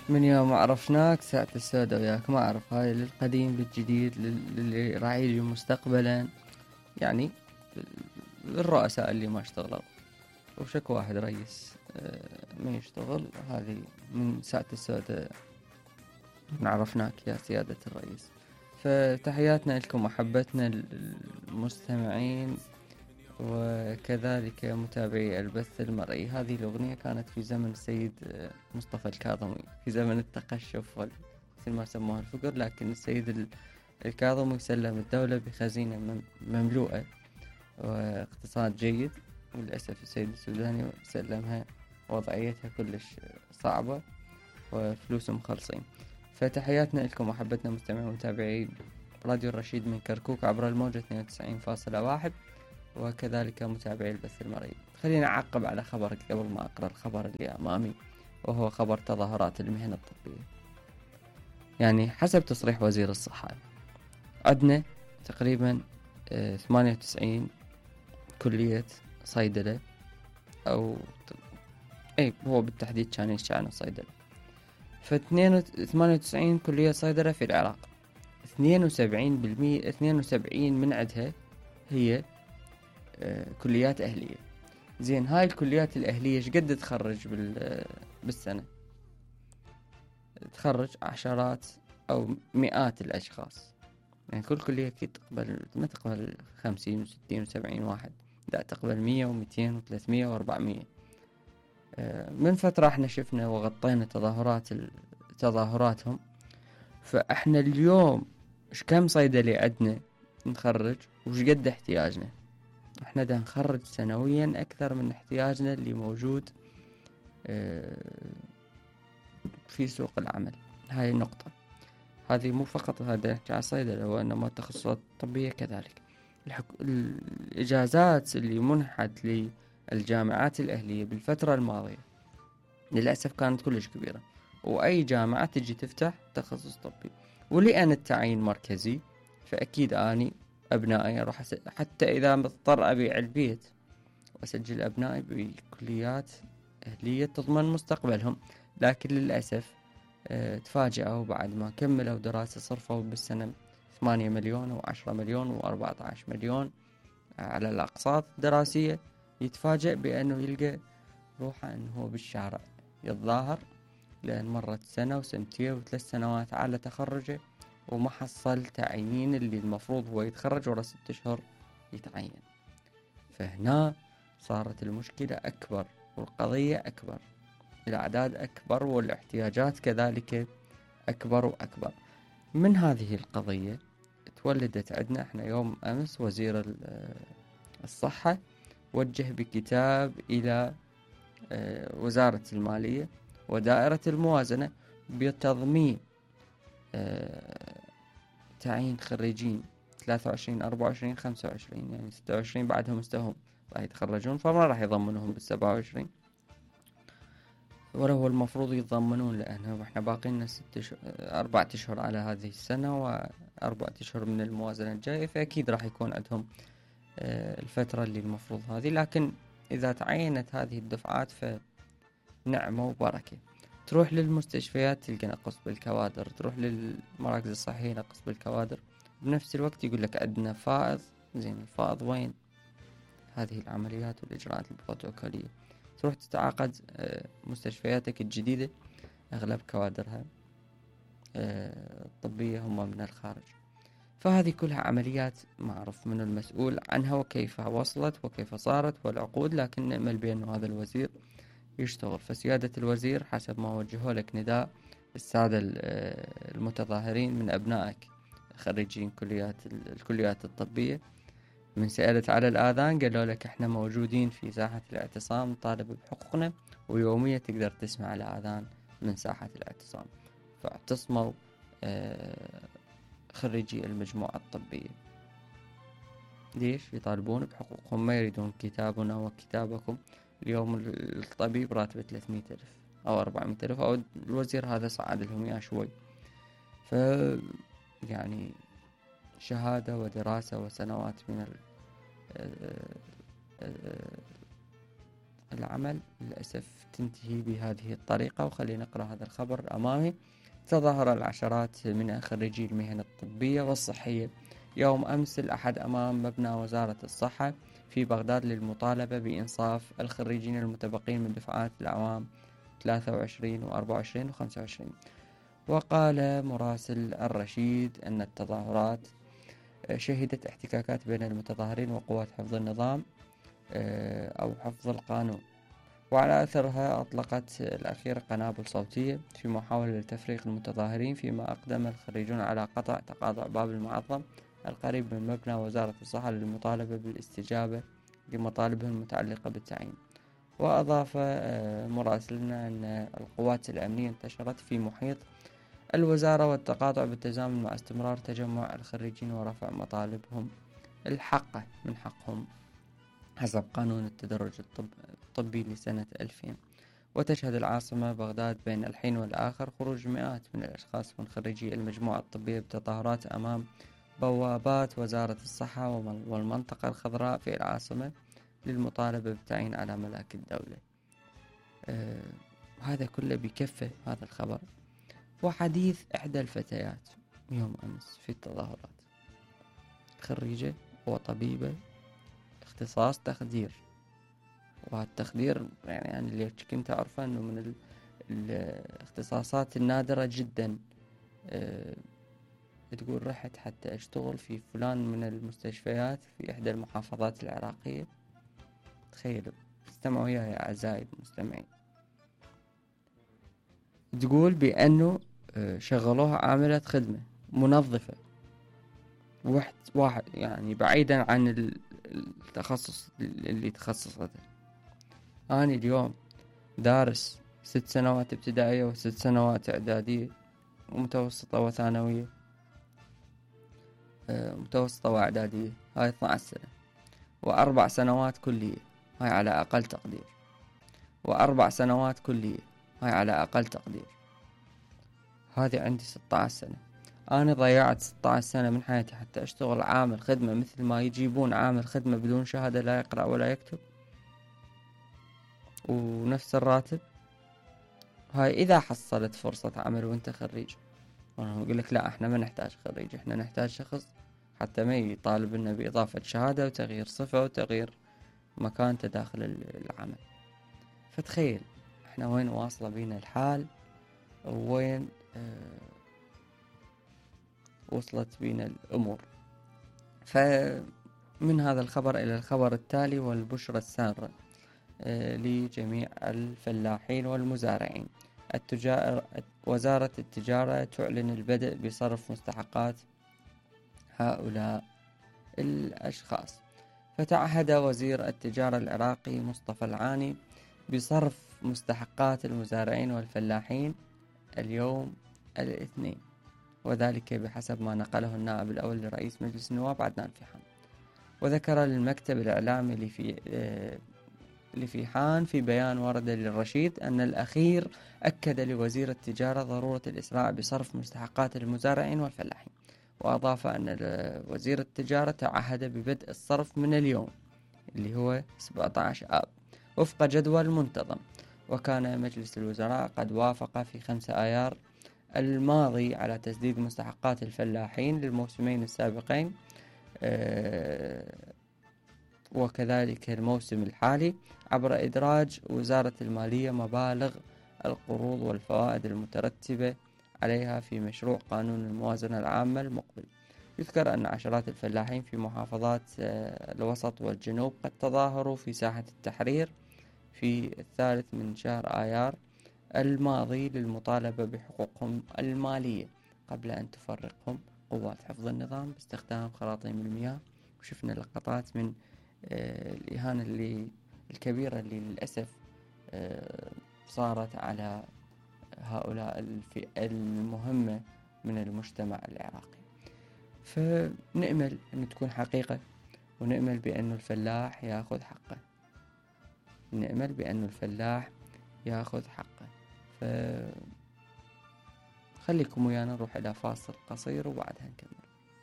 من يوم عرفناك ساعة السوداء وياك، ما أعرف هاي للقديم للجديد للي راح يجي مستقبلا، يعني الرؤساء اللي ما اشتغلوا وشك واحد رئيس من يشتغل. هذه من ساعة السوداء من عرفناك يا سيادة الرئيس. فتحياتنا لكم، محبتنا للمستمعين وكذلك متابعي البث المرئي. هذه الأغنية كانت في زمن السيد مصطفى الكاظمي، في زمن التقشف مثل ما سموها الفقر، لكن السيد الكاظمي سلم الدولة بخزينة مملوءة واقتصاد جيد، وللأسف السيد السوداني سلمها وضعيتها كلش صعبة وفلوسهم خلصين. فتحياتنا لكم، محبتنا مستمعين ومتابعي راديو الرشيد من كركوك عبر الموجة 92.1 وكذلك متابعي البث المرئي. خلينا أعقب على خبرك قبل ما أقرأ الخبر اللي أمامي، وهو خبر تظاهرات المهنة الطبية. يعني حسب تصريح وزير الصحة عندنا تقريبا 98 كلية صيدلة، أو هو بالتحديد كان يشتغل صيدلة. ف98 كلية صيدلة في العراق، 72% من عندها هي كليات أهلية. زين، هاي الكليات الأهلية شقد تخرج بالسنة؟ تخرج عشرات أو مئات الأشخاص. يعني كل كلية ما تقبل 50 و60 و70 واحد، لا تقبل 100 و200 و300 و400. من فترة احنا شفنا وغطينا تظاهراتهم. فاحنا اليوم كم صيدلي عندنا نخرج وش قد احتياجنا؟ احنا دا نخرج سنويا اكثر من احتياجنا اللي موجود في سوق العمل. هاي النقطة، هذه مو فقط هذا نحكي على الصيدلة، وانما التخصصات الطبية كذلك. الاجازات اللي منحت للجامعات الاهلية بالفترة الماضية للأسف كانت كلش كبيرة، وأي جامعة تجي تفتح تخصص طبي. ولأن التعيين مركزي، فأكيد أني أبنائي راح حتى إذا مضطر أبيع البيت وأسجل أبنائي بكليات أهلية تضمن مستقبلهم. لكن للأسف تفاجئوا بعد ما كملوا دراسة صرفوا بالسنة 8 مليون و10 مليون و14 مليون على الأقساط الدراسية، يتفاجئ بأنه يلقى روحه أنه هو بالشارع يتظاهر، لأن مرت سنة وسنتين و3 سنوات على تخرجه وما حصل تعيين اللي المفروض هو يتخرج ورا 6 أشهر يتعين. فهنا صارت المشكلة أكبر والقضية أكبر، الأعداد أكبر والاحتياجات كذلك أكبر وأكبر. من هذه القضية تولدت عندنا احنا يوم أمس وزير الصحة وجه بكتاب إلى وزارة المالية ودائرة الموازنة بتضمين تعيين خريجين 23 24 25، يعني 26 بعدهم استهم راح يتخرجون، فما راح يضمنهم بال27 ولا هو المفروض يتضمنون، لأنه احنا باقي لنا 4 أشهر على هذه السنة و4 أشهر من الموازنة الجاية، فأكيد راح يكون عندهم الفترة اللي المفروض هذه. لكن إذا تعينت هذه الدفعات فنعمة وبركة. تروح للمستشفيات تلقى نقص بالكوادر، تروح للمراكز الصحية نقص بالكوادر، بنفس الوقت يقول لك عندنا فائض. زين، الفائض وين؟ هذه العمليات والإجراءات البروتوكولية. تروح تتعاقد مستشفياتك الجديدة أغلب كوادرها الطبية هم من الخارج. فهذه كلها عمليات معروف من المسؤول عنها وكيف وصلت وكيف صارت والعقود، لكن نأمل بأن هذا الوزير يشتغل. فسيادة الوزير حسب ما وجهوا لك نداء السادة المتظاهرين من أبنائك خريجين الكليات الطبية، من سألت على الآذان قالوا لك احنا موجودين في ساحة الاعتصام نطالب بحقوقنا، ويوميا تقدر تسمع الآذان من ساحة الاعتصام. فاعتصموا خريجي المجموعة الطبية. ليش؟ يطالبون بحقوقهم، ما يريدون كتابنا وكتابكم. اليوم الطبيب راتبه 300,000 أو 400,000، أو الوزير هذا صعد لهم يا شوي. يعني شهادة ودراسة وسنوات من العمل للأسف تنتهي بهذه الطريقة. وخلينا نقرأ هذا الخبر أمامي. تظاهر العشرات من خريجي المهن الطبية والصحية يوم أمس الأحد أمام مبنى وزارة الصحة في بغداد للمطالبة بإنصاف الخريجين المتبقين من دفعات الأعوام 23 و24 و25. وقال مراسل الرشيد أن التظاهرات شهدت احتكاكات بين المتظاهرين وقوات حفظ النظام أو حفظ القانون، وعلى أثرها أطلقت الأخيرة قنابل صوتية في محاولة لتفريق المتظاهرين، فيما أقدم الخريجون على قطع تقاطع باب المعظم القريب من مبنى وزارة الصحة للمطالبة بالاستجابة لمطالبهم المتعلقة بالتعيين. وأضاف مراسلنا أن القوات الأمنية انتشرت في محيط الوزارة والتقاطع بالتزامن مع استمرار تجمع الخريجين ورفع مطالبهم الحقة من حقهم حسب قانون التدرج الطبي لسنة 2000. وتشهد العاصمة بغداد بين الحين والآخر خروج مئات من الأشخاص من خريجي المجموعة الطبية بتظاهرات أمام بوابات وزارة الصحة والمنطقة الخضراء في العاصمة للمطالبة بالتعيين على ملاك الدولة. هذا كله بكفة هذا الخبر. وحديث إحدى الفتيات يوم أمس في التظاهرات، خريجة وطبيبة اختصاص تخدير، والتخدير يعني أنا اللي كنت أعرفه أنه من الاختصاصات النادرة جدا. تقول رحت حتى أشتغل في فلان من المستشفيات في إحدى المحافظات العراقية. تخيلوا، استمعوا وياي يا أعزائي المستمعين. تقول بأنه شغلوها عاملة خدمة منظفة، واحد يعني بعيدا عن التخصص اللي تخصصته. أنا اليوم دارس 6 سنوات ابتدائية و6 سنوات إعدادية ومتوسطة وثانوية، متوسطة وإعدادية، هاي 12 سنة، و4 سنوات كلية، هاي على أقل تقدير، و4 سنوات كلية، هاي على أقل تقدير. هذه عندي 16 سنة. أنا ضيعت 16 سنة من حياتي حتى أشتغل عامل خدمة، مثل ما يجيبون عامل خدمة بدون شهادة لا يقرأ ولا يكتب ونفس الراتب. هاي إذا حصلت فرصة عمل وانت خريج. أنا أقول لك لا، احنا ما نحتاج خريج، احنا نحتاج شخص حتى ما يطالب لنا بإضافة شهادة وتغيير صفة وتغيير مكانته داخل العمل. فتخيل احنا وين واصلة بينا الحال، وين وصلت بينا الأمور. فمن هذا الخبر إلى الخبر التالي والبشرى السارة لجميع الفلاحين والمزارعين. وزارة التجارة تعلن البدء بصرف مستحقات هؤلاء الأشخاص. فتعهد وزير التجارة العراقي مصطفى العاني بصرف مستحقات المزارعين والفلاحين اليوم الاثنين، وذلك بحسب ما نقله النائب الأول لرئيس مجلس النواب عدنان فيحان. وذكر المكتب الإعلامي لفيحان في بيان ورد للرشيد أن الأخير أكد لوزير التجارة ضرورة الإسراع بصرف مستحقات المزارعين والفلاحين. وأضاف أن وزير التجارة تعهد ببدء الصرف من اليوم اللي هو 17 آب وفق جدول منتظم. وكان مجلس الوزراء قد وافق في 5 آيار الماضي على تسديد مستحقات الفلاحين للموسمين السابقين وكذلك الموسم الحالي عبر إدراج وزارة المالية مبالغ القروض والفوائد المترتبة عليها في مشروع قانون الموازنة العامة المقبل. يذكر أن عشرات الفلاحين في محافظات الوسط والجنوب قد تظاهروا في ساحة التحرير في 3 من شهر آيار الماضي للمطالبة بحقوقهم المالية قبل أن تفرقهم قوات حفظ النظام باستخدام خراطيم المياه. وشفنا لقطات من الإهانة الكبيرة اللي للأسف صارت على هؤلاء الفئة المهمة من المجتمع العراقي. فنأمل أن تكون حقيقة، ونأمل بأن الفلاح يأخذ حقه، نأمل بأن الفلاح يأخذ حقه. خليكم ويانا نروح إلى فاصل قصير وبعدها نكمل.